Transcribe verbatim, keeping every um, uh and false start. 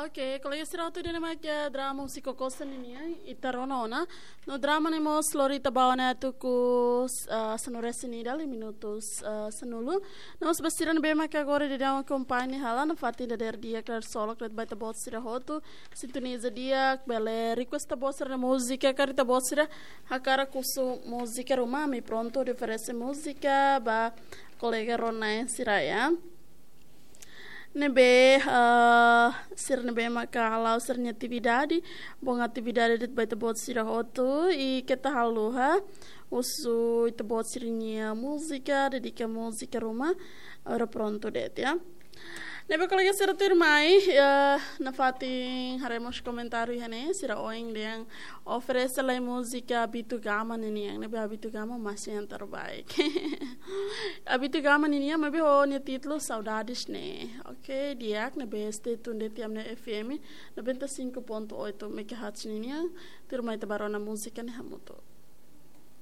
Oke, kolega sira hotu, ida-ne'e mak drama Husi Kokosen ninian, ita rona ona. No drama ne'e mós lori ita ba ona tuku, ah, sanulu-resin-ida, liu minutus, ah, sanulu. No mós ba sira ne'ebé mak agora daudaun akompaña hela, nafatin dadeer di'ak, klarsolok de'it ba ita-boot sira hotu. Sintoniza di'ak, bele request ita-boot sira-nia múzika, karik ita-boot sira hakarak husu múzika ruma, ami prontu hodi oferese múzika ba kolega rona sira, ya. Ne'ebé, ah, sira ne'ebé maka hala'o sira-nia atividade, bom atividade de'it ba ita-boot sira hotu, i keta haluha husu ita-boot sira-nia múzika, dedika múzika ruma, agora prontu de'it, ya. Ne'ebé kolega sira tuirmai, eh, nafatin haree mós komentáriu iha ne'e, sira ohin dehan oferese lai múzika Abitugama ninian, ne'ebé Abitugama masih yang terbaik. Abitugama ninian, maibé ho nia títulu Saudades ne'e. Oke, di'ak, ne'ebé stay tune de'it iha ami-nia F M noventa e cinco ponto oito megahertz ninian, tuirmai ita ba rona múzika ne'e hamutuk.